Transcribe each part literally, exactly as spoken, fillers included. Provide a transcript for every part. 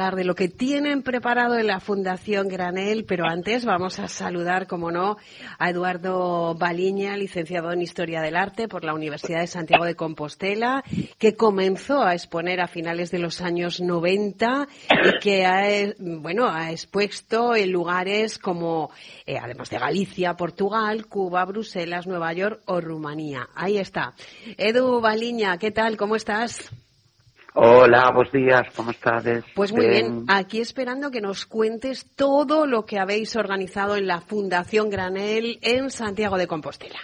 de lo que tienen preparado en la Fundación Granel, pero antes vamos a saludar, como no, a Eduardo Baliña, licenciado en Historia del Arte por la Universidad de Santiago de Compostela, que comenzó a exponer a finales de los años noventa y que ha, bueno, ha expuesto en lugares como, eh, además de Galicia, Portugal, Cuba, Bruselas, Nueva York o Rumanía. Ahí está. Edu Baliña, ¿qué tal? ¿Cómo estás? Hola, buenos días, ¿cómo estás? Pues muy bien, aquí esperando que nos cuentes todo lo que habéis organizado en la Fundación Granel en Santiago de Compostela.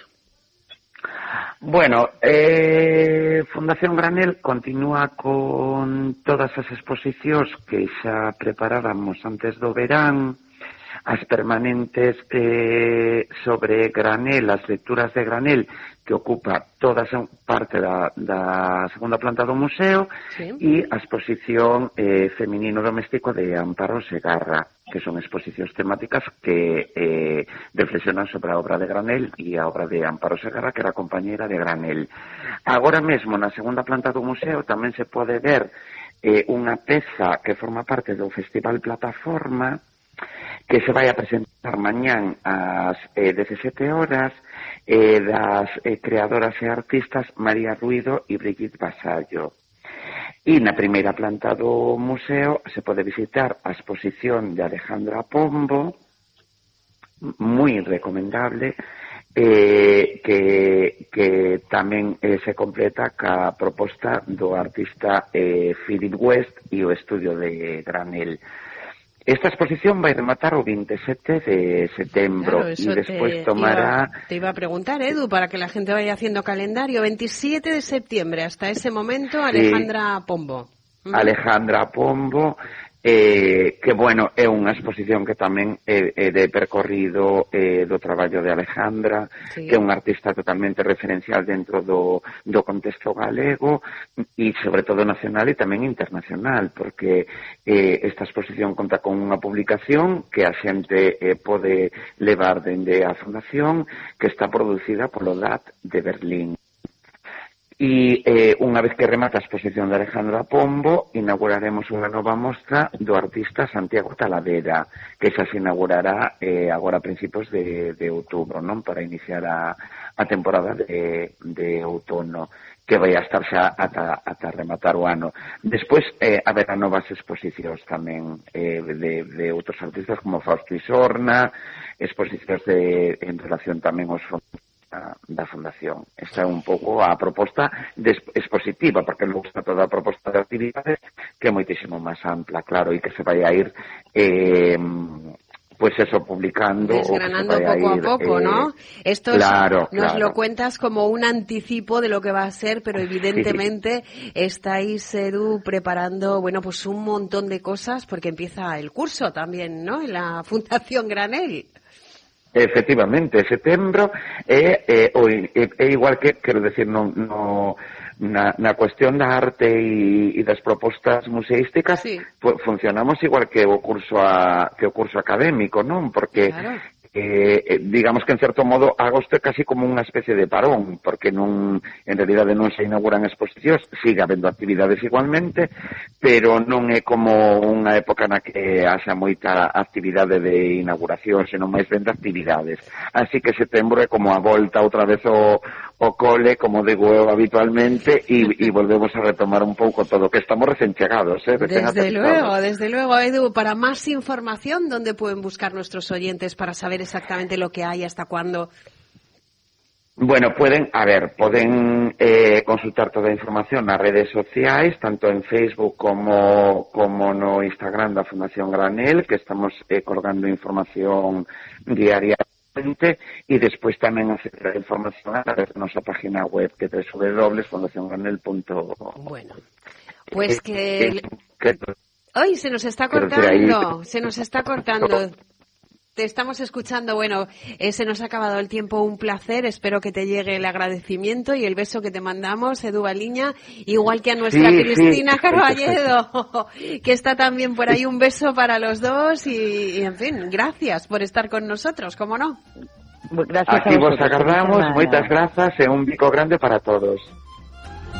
Bueno, eh, Fundación Granel continúa con todas as exposicións que xa preparáramos antes do verán, as permanentes eh, sobre Granel, as lecturas de Granel, que ocupa toda esa parte da, da segunda planta do museo, sí. E a exposición eh, Feminino Doméstico de Amparo Segarra, que son exposicións temáticas que eh, reflexionan sobre a obra de Granel e a obra de Amparo Segarra, que era compañera de Granel. Agora mesmo, na segunda planta do museo, tamén se pode ver eh, unha peza que forma parte do Festival Plataforma, que se vai a presentar mañán ás eh, dezasete horas eh, das eh, creadoras e artistas María Ruido e Brigitte Vasallo. E na primeira planta do museo se pode visitar a exposición de Alejandra Pombo, moi recomendable, eh, que, que tamén eh, se completa ca proposta do artista eh, Philip West e o estudio de Granel. Esta exposición vai rematar o veintisiete de setembro claro, y después te tomará... Iba, te iba a preguntar, Edu, para que la gente vaya haciendo calendario. veintisiete de septiembre, hasta ese momento, Alejandra sí, Pombo. Uh-huh. Alejandra Pombo, eh, que, bueno, é unha exposición que tamén é, é de percorrido eh, do traballo de Alejandra, sí. Que é unha artista totalmente referencial dentro do, do contexto galego e, sobre todo, nacional e tamén internacional, porque eh, esta exposición conta con unha publicación que a xente eh, pode levar dende a Fundación, que está producida polo D A T de Berlín. E eh, unha vez que remata a exposición de Alejandra Pombo, inauguraremos unha nova mostra do artista Santiago Talavera, que xa se inaugurará eh, agora a principios de, de outubro, non? Para iniciar a, a temporada de, de outono, que vai a estar xa ata, ata rematar o ano. Despois eh, haberá novas exposicións tamén eh, de, de outros artistas como Fausto Isorna, exposicións de, en relación tamén aos fondos da Fundación. Esta é un pouco a proposta de expositiva, porque logo está toda a proposta de actividades que é moitísimo máis ampla, claro, e que se vai a ir eh, pues eso, publicando desgranando poco a, ir, a poco, eh, ¿no? Esto claro, nos claro. Lo cuentas como un anticipo de lo que va a ser, pero evidentemente sí. Estáis, Edu, preparando, bueno, pues un montón de cosas, porque empieza el curso también, ¿no? En la Fundación Granel. Efectivamente, setembro é, é, é, é igual que, quero decir, no, no, na, na cuestión da arte e, e das propostas museísticas, sí. Funcionamos igual que o curso a, que o curso académico, non? Porque claro. Eh, digamos que en certo modo agosto é casi como unha especie de parón, porque non, en realidade non se inauguran exposicións, sigue habendo actividades igualmente, pero non é como unha época na que haxa moita actividade de inauguración, senón máis ben de actividades. Así que setembro é como a volta outra vez o, o cole, como digo eu habitualmente, e, e volvemos a retomar un pouco todo, que estamos recén chegados, eh? Recén desde luego, desde luego, Edu. Para máis información, ¿dónde pueden buscar nuestros oyentes para saber exactamente lo que hay, hasta cuándo? Bueno, pueden, a ver, pueden eh, consultar toda a información nas redes sociais, tanto en Facebook como, como no Instagram da Fundación Granel, que estamos eh, colgando información diariamente, e despois tamén acceder a información a través da nosa página web, que é doble u doble u doble punto fundación granel punto com. Bueno, pues que... Eh, que... ¡Ay, se nos está cortando! Se nos está cortando. Te estamos escuchando. Bueno, eh, se nos ha acabado el tiempo. Un placer. Espero que te llegue el agradecimiento y el beso que te mandamos, Edu Baliña, igual que a nuestra sí, Cristina sí. Carballedo, que está también por ahí. Un beso para los dos y, y, en fin, gracias por estar con nosotros, ¿cómo no? Gracias. Aquí vos agardamos, moitas grazas e un bico grande para todos.